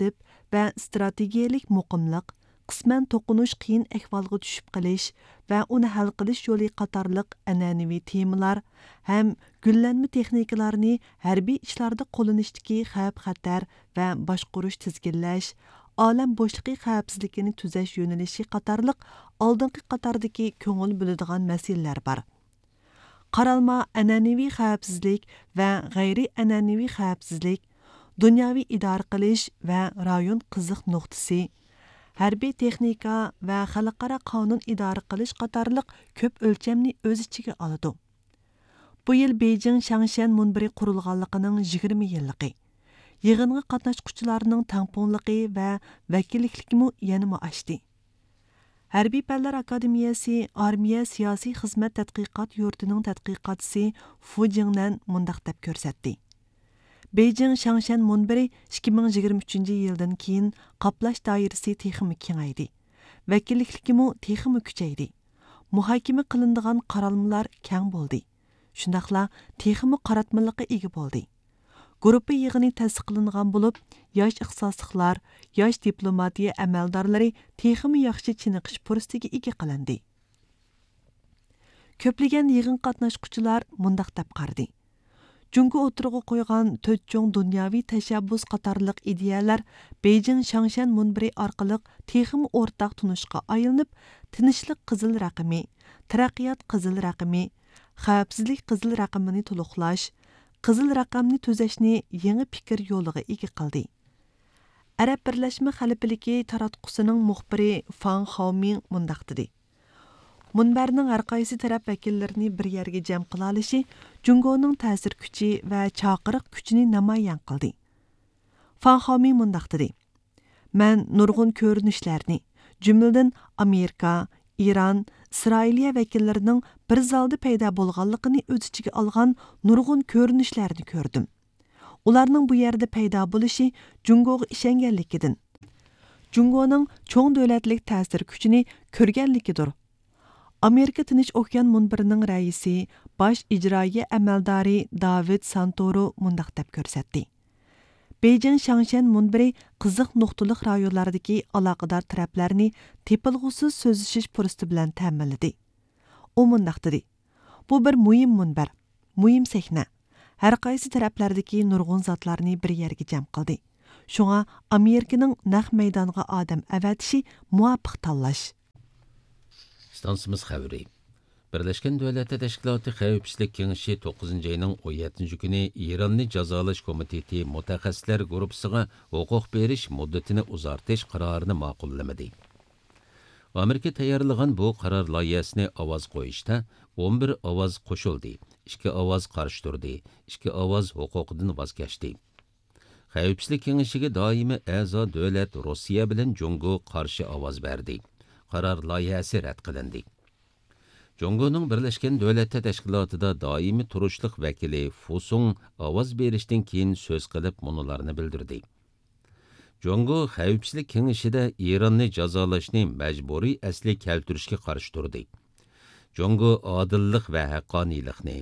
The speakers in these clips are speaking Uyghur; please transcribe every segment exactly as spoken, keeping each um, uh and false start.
تەرتىپ ۋە ئىستراتېگىيەلىك مۇقىملىق، قىسمەن توقۇنۇش قىيىن ئەھۋالغا چۈشۈپ قېلىش ۋە ئۇنى ھەل قىلىش يولى قاتارلىق ئەنئەنىۋى تېمىلار ھەم گۈللەنمە تېخنىكىلارنى ھەربىي ئىشلاردا قوللىنىشتىكى خەۋپ-خەتەر ۋە باشقۇرۇش، تىزگىنلەش، ئالەم بوشلۇقى خەۋپسىزلىكىنى تۈزەش يۆنىلىشى قاتارلىق ئالدىنقى قاتاردىكى كۆڭۈل بۆلىدىغان مەسىلىلەر بار. قارالما ئەنئەنىۋى خەۋپسىزلىك ۋە غەيرىي ئەنئەنىۋى خەۋپسىزلىك، دۇنياۋى ئىدارە قىلىش ۋە رايون قىزىق نۇقتىسى، ھەربىي تېخنىكا ۋە خەلقئارا قانۇن ئىدارە قىلىش قاتارلىق كۆپ ئۆلچەمنى ئۆز ئىچىگە ئالىدۇ. بۇ يىل بېيجىڭ شاڭشيەن مۇنبىرى قۇرۇلغانلىقىنىڭ يىگىرمە يىللىقى. يىغىنغا قاتناشقۇچىلارنىڭ تەڭپۇڭلۇقى ۋە ۋەكىللىكلىكىمۇ يەنىمۇ ئاشتى. ھەربىي پەنلەر ئاكادېمىيەسى ئارمىيە سىياسىي خىزمەت تەتقىقات يۇرتىنىڭ تەتقىقاتچىسى فۇ جىڭنەن مۇنداق دەپ كۆرسەتتى: بېيجىڭ شاڭشيەن مۇنبىرى ئىككى مىڭ يىگىرمە ئۈچىنچى يىلدىن كېيىن قاپلاش دائىرىسى تېخىمۇ كېڭەيدى، ۋەكىللىكلىكىمۇ تېخىمۇ كۈچەيدى، مۇھاكىمە قىلىنىدىغان قارالمىلار كەڭ بولدى، شۇنداقلا تېخىمۇ قاراتمىلىققا ئىگە بولدى. گۇرۇپپا يىغىنى تەستىقلانغان بولۇپ، ياش ئىختىساسلىقلار، ياش دىپلوماتىيە ئەمەلدارلىرى تېخىمۇ ياخشى چېنىقىش پۇرسىتىگە ئىگە قىلىندى. كۆپلىگەن يىغىن قاتناشقۇچىلار مۇنداق دەپ قارىدى: جۇڭگو ئوتتۇرىغا قويغان تۆت چوڭ دۇنياۋى تەشەببۇس قاتارلىق ئىدىيەلەر بېيجىڭ شاڭشيەن مۇنبىرى ئارقىلىق تېخىمۇ ئورتاق تونۇشقا ئايلىنىپ، تىنچلىق قىزىل رەقىمى، تەرەققىيات قىزىل رەقىمى، خەۋپسىزلىك قىزىل رەقىمىنى تولۇقلاش، قىزىل رەقەمنى تۈزەشنى يېڭى پىكىر يولىغا ئىگە قىلدى. ئەرەب بىرلەشمە خەلىپىلىكى تاراتقۇسىنىڭ مۇخبىرى فاڭ خاۋمىڭ مۇنداق دېدى: مۇنبەرنىڭ ھەرقايسى تەرەپ ۋەكىللىرىنى بىر يەرگە جەم قىلالىشى جۇڭگونىڭ تەسىر كۈچى ۋە چاقىرىق كۈچىنى نامايان قىلدى. فاڭ خاۋمىڭ مۇنداق دېدى: مەن نۇرغۇن كۆرۈنۈشلەرنى، جۈملىدىن ئامېرىكا، ئىران، ئىسرائىلىيە ۋەكىللىرىنىڭ بىر زالدا پەيدا بولغانلىقىنى ئۆز ئىچىگە ئالغان نۇرغۇن كۆرۈنۈشلەرنى كۆردۈم. ئۇلارنىڭ بۇ يەردە پەيدا بولۇشى جۇڭگوغا ئىشەنگەنلىكىدىن، جۇڭگونىڭ چوڭ دۆلەتلىك تەسىر كۈچىنى كۆرگەنلىكىدۇر. ئامېرىكا تىنچ ئوكيان مۇنبىرىنىڭ رەئىسى، باش ئىجرائىيە ئەمەلدارى داۋىد سانتورو مۇنداق دەپ كۆرسەتتى: بېيجىڭ شاڭشيەن مۇنبىرى قىزىق نۇقتىلىق رايونلاردىكى ئالاقىدار تەرەپلەرنى تېپىلغۇسىز سۆزلىشىش پۇرسىتى بىلەن تەمىنلىدى. ئۇ مۇنداق دېدى: بۇ بىر مۇھىم مۇنبەر، مۇھىم سەھنە. ھەرقايسى تەرەپلەردىكى نۇرغۇن زاتلارنى بىر يەرگە جەم قىلدى. شۇڭا ئامېرىكىنىڭ نەق مەيدانغا ئادەم ئەۋەتىشى مۇۋاپىق تاللاش. ئىستانسىمىز خەۋىرى. بىرلەشكەن دۆلەتلەر تەشكىلاتى خەۋپسىزلىك كېڭىشى توققۇزىنچى ئاينىڭ ئون يەتتىنچى كۈنى ئىراننى جازالاش كومىتېتى مۇتەخەسسىسلەر گۇرۇپپىسىغا ھوقۇق بېرىش مۇددىتىنى ئۇزارتىش قارارىنى ماقۇللىمىدى. ئامېرىكا تەييارلىغان بۇ قارار لايىھەسىنى ئاۋاز قويۇشتا ئون بىر ئاۋاز قوشۇلدى، ئىككى ئاۋاز قارشى تۇردى، ئىككى ئاۋاز ھوقۇقىدىن ۋاز كەچتى. خەۋپسىزلىك كېڭىشىگە دائىمىي ئەزا دۆلەت روسىيە بىلەن جۇڭگو قارشى ئاۋاز بەردى. قارار لايىھەسى رەت قىلىندى. جۇڭگونىڭ بىرلەشكەن دۆلەتلەر تەشكىلاتىدا دائىمىي تۇرۇشلۇق ۋەكىلى فۇسۇڭ ئاۋاز بېرىشتىن كېيىن سۆز قىلىپ مۇنۇلارنى بىلدۈردى: جۇڭگو خەۋپسىزلىك كېڭىشىدە ئىراننى جازالاشنى مەجبۇرىي ئەسلىگە كەلتۈرۈشكە قارشى تۇردى. جۇڭگو ئادىللىق ۋە ھەققانىيلىقنى،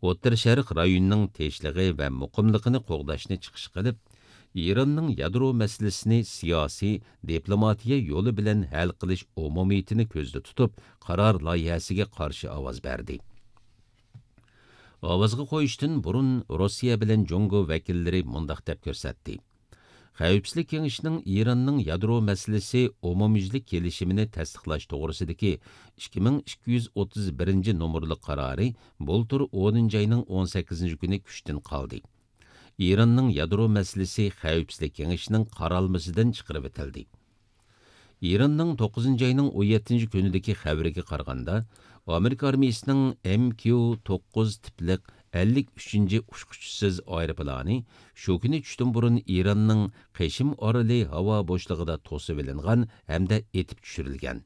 ئوتتۇرا شەرق رايونىنىڭ تىنچلىقى ۋە مۇقىملىقىنى قوغداشنى چىقىش قىلىپ، ئىراننىڭ يادرو مەسىلىسىنى سىياسىي، دىپلوماتىيە يولى بىلەن ھەل قىلىش ئومۇمىيىتىنى كۆزدە تۇتۇپ، قارار لايىھەسىگە قارشى ئاۋاز بەردى. ئاۋازغا قويۇشتىن بۇرۇن روسىيە بىلەن جۇڭگو ۋەكىللىرى مۇنداق دەپ كۆرسەتتى: خەۋپسىزلىك كېڭىشىنىڭ ئىراننىڭ يادرو مەسىلىسى ئومۇميۈزلۈك كېلىشىمىنى تەستىقلاش توغرىسىدىكى ئىككى مىڭ ئىككى يۈز ئوتتۇز بىرىنچى نومۇرلۇق قارارى بۇلتۇر ئونىنچى ئاينىڭ ئون سەككىزىنچى كۈنى كۈچتىن قالدى. ئىراننىڭ يادرو مەسىلىسى خەۋپسىزلىك كېڭىشىنىڭ قارالمىسىدىن چىقىرىۋېتىلدى. ئىراننىڭ توققۇزىنچى ئاينىڭ ئون يەتتىنچى كۈنىدىكى خەۋىرىگە قارىغاندا، ئامېرىكا ئارمىيىسىنىڭ ئېم كيۇ توققۇز تىپلىق ئەللىك ئۈچىنچى ئۇچقۇچىسىز ئايروپىلانى شۇ كۈنى چۈشتىن بۇرۇن ئىراننىڭ قېشىم ئارىلى ھاۋا بوشلۇقىدا توسۇۋېلىنغان ھەمدە ئېتىپ چۈشۈرۈلگەن.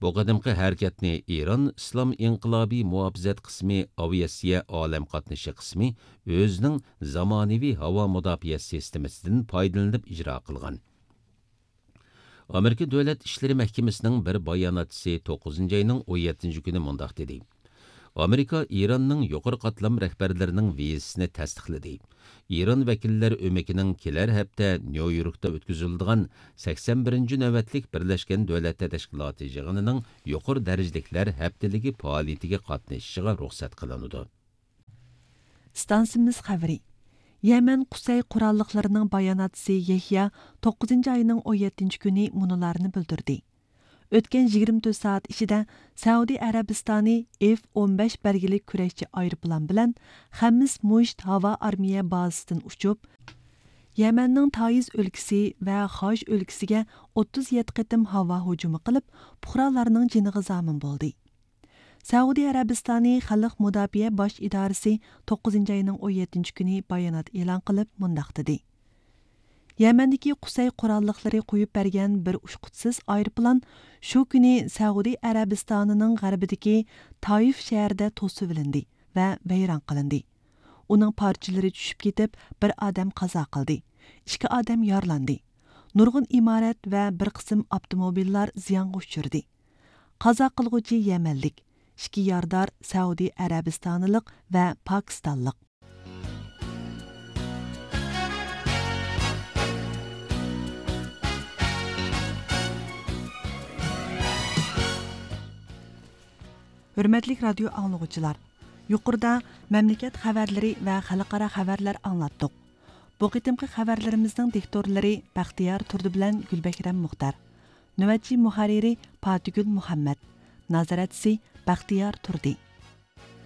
بۇ قېتىمقى ھەرىكەتنى ئىران ئىسلام ئىنقىلابىي مۇھاپىزەت قىسمى ئاۋىئاتسىيە ئالەم قاتنىشى قىسمى ئۆزىنىڭ زامانىۋى ھاۋا مۇداپىئە سىستېمىسىدىن پايدىلىنىپ ئىجرا قىلغان. ئامېرىكا دۆلەت ئىشلىرى مەھكىمىسىنىڭ بىر باياناتچىسى توققۇزىنچى ئاينىڭ ئون يەتتىنچى كۈنى مۇنداق دېدى: ئامېرىكا ئىراننىڭ يۇقىرى قاتلام رەھبەرلىرىنىڭ ۋىزىسىنى تەستىقلىدى. ئىران ۋەكىللەر ئۆمىكىنىڭ كېلەر ھەپتە نيۇ يوركتا ئۆتكۈزۈلىدىغان سەكسەن بىرىنچى نۆۋەتلىك بىرلەشكەن دۆلەتلەر تەشكىلاتى يىغىنىنىڭ يۇقىرى دەرىجىلىكلەر ھەپتىلىكى پائالىيىتىگە قاتنىشىشىغا رۇخسەت قىلىنىدۇ. ئىستانسىمىز خەۋىرى. يەمەن قۇسەي قوراللىقلىرىنىڭ باياناتچىسى يەھيا توققۇزىنچى ئاينىڭ ئون يەتتىنچى كۈنى مۇنۇلارنى بىلدۈردى. ئۆتكەن يىگىرمە تۆت سائەت ئىچىدە سەئۇدى ئەرەبىستانى ئېف ئون بەش بەلگىلىك كۈرەشچى ئايروپىلان بىلەن خەمىس مۇشت ھاۋا ئارمىيە بازىسىدىن ئۇچۇپ، يەمەننىڭ تائىز ئۆلكىسى ۋە خاش ئۆلكىسىگە ئوتتۇز يەتتە قېتىم ھاۋا ھۇجۇمى قىلىپ، پۇقرالارنىڭ جېنىغا زامىن بولدى. سەئۇدى ئەرەبىستانى خەلق مۇداپىئە باش ئىدارىسى توققۇزىنچى ئاينىڭ ئون يەتتىنچى كۈنى بايانات ئېلان قىلىپ مۇنداق دېدى: يەمەندىكى قۇسەي قوراللىقلىرى قويۇپ بەرگەن بىر ئۇچقۇچىسىز ئايروپىلان شۇ كۈنى سەئۇدى ئەرەبىستانىنىڭ غەربىدىكى تايىف شەھىرىدە توسۇۋېلىندى ۋە ۋەيران قىلىندى. ئۇنىڭ پارچىلىرى چۈشۈپ كېتىپ، بىر ئادەم قازا قىلدى، ئىككى ئادەم يارىلاندى. نۇرغۇن ئىمارەت ۋە بىر قىسىم ئاپتوموبىللار زىيانغا ئۇچرىدى. قازا قىلغۇچى يەمەنلىك، ئىككى يارىدار سەئۇدى ئەرەبىستانلىق ۋە پاكىستانلىق. ھۆرمەتلىك رادىيو ئاڭلىغۇچىلار، يۇقىرىدا مەملىكەت خەۋەرلىرى ۋە خەلقئارا خەۋەرلەر ئاڭلاتتۇق. بۇ قېتىمقى خەۋەرلىرىمىزنىڭ دىكتورلىرى بەختىيار تۇردى بىلەن گۈلبەھرەم مۇختار. نۆۋەتچى مۇھەررىرى پاتىگۈل مۇھەممەد. نازارەتچىسى بەختىيار تۇردى.